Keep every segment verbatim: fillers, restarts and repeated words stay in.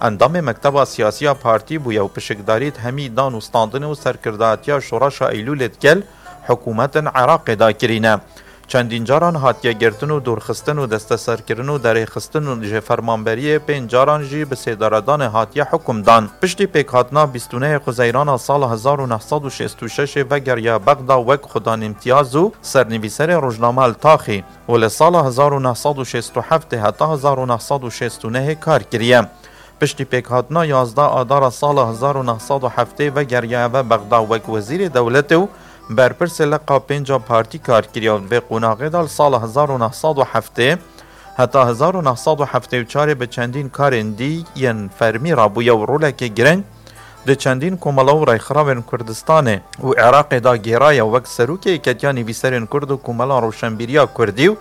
endamê mekteba siyasî ya partî bûye û pişikdarî di hemî dan û standinê û serkirdatiya Şoreşa Eylûlê digel hikûmetên Iraqê de kirîne. Çendîn caran hatiye girtin û dûrxistin û desteserkirin û derêxistin û ji fermanberiyê pênc caran jî bi sêdaredanê hatiye hukm dan. Piştî pêkhatina bîst û nehê Xuzeyrana sala hezar û neh sed û şêst û şeşê vegeriya Bexda wek xudan îmtiyaz û sernivîserê rojname li taxî û li sala hezar û neh sed û şêst û heftê heta hezar û neh sed û şêst û nehê kar kiriye. Piştî pêkhatina yazdeh Adara sala hezar û neh sed û heftê vegeriyaye ve Bexda wek wezîrê dewletê û berpirsê leqa pênc a partî kar kiriye û di vê qonaxê de li sala hezar û neh sed û heftê heta hezar û neh sed û heftê û çarê bi çendîn karên dî yên fermî rabûye û rolekê giring di çendîn komela û rêxrawên Kurdistanê û Iraqê de gêraye wek serokê Yeketiya Nivîserên Kurd û Komela Roşenbîriya Kurdî û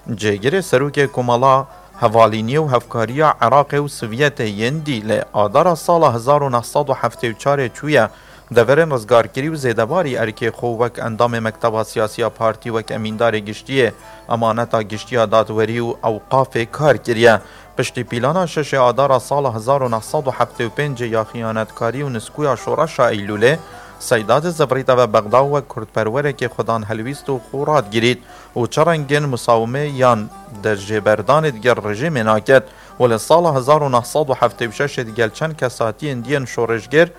cêgirê serokê Komela Hevalîniyê û Hevkariya Iraqê û Sovyetê yên dî. Lê Adara sala hezar û neh sed û heftê û çarê çûye deverên rizgarkirî û zêdebarî erkê xwe wek endamê mekteba siyasî ya partî, wek emîndarê giştî yê emaneta giştî ya dadwerî û ewqafê kar kiriye. Piştî pîlana şeşê Adara sala hezar û neh sed û heftê û pêncê ya xiyanetkarî û niskûya Şoreşa Eylûlê, Seyda dizivirîte ve Bexda wek kurdperwerekê xudan helwîst û xwe radigirît û çi rengên musawimê yan derjêberdanê digel rejîmê naket û li sala hezar û neh sed û heftê û şeşê digel çend kesatiyên diyên şoreşger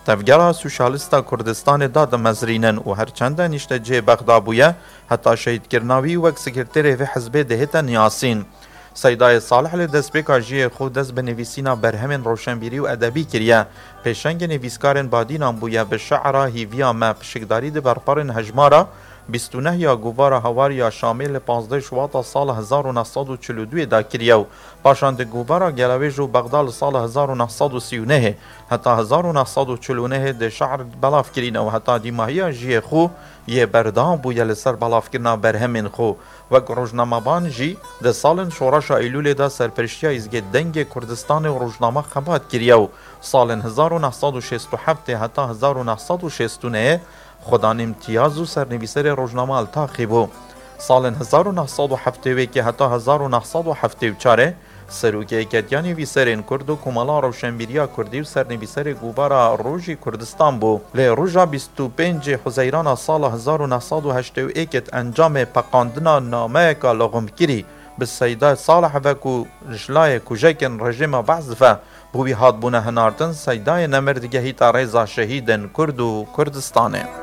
Tevgera Sosyalîsta Kurdistanê dadimezrînin û her çende nîştecihê Bexda bûye, heta şehîdkirina wî wek sekreterê vê hizbê dihête niyasîn. Seydayê Salih li destpêka jiyê xwe dest bi nivîsîna berhemên roşenbîrî û edebî kiriye. Pêşengê nivîskarên badînan bûye, bi şi'ra Hîviya Me pişikdarî di berparên hejmara bîst û neh ya Govara Hawar ya Şamê li pazdeh Şuwata sala hezar û neh sed û çil û duyê de kiriye û paşan di Govara Gelawêj û Bexda li sala hezar û neh sed û sî û nehê heta hezar û neh sed û çil û nehê di şi'r belav kirîne û heta dîmahiya jiyê xwe yê berdewam bûye li ser belavkirina berhemên xwe. Wek rojnamevan jî di salên Şoreşa Eylûlê de serpiriştiya Îzgê Dengê Kurdistanê û rojname xebat kiriye û salên hezar û neh sed û şêst û heftê heta hezar û neh sed û şêst û nehê xudan îmtiyaz û sernivîserê rojname li taxî bû. Salên hezar û neh sed û heftê û yekê heta hezar û neh sed û heftê û çarê serokê Yeketiya Nivîserên Kurd û Komela Roşenbîriya Kurdî û sernivîserê Govara Rojî Kurdistan bû. Lê roja bîst û pêncê Huzeyrana sala hezar û neh sed û heştê û yekê di encamê peqandina nameyeka lixumkirî bi Seyda Salih ve ku ji layê kujekên rejîma Behs ve bo wî hatbûne hinartin, Seydayê nemir digehîta rêza şehîdên Kurd û Kurdistanê.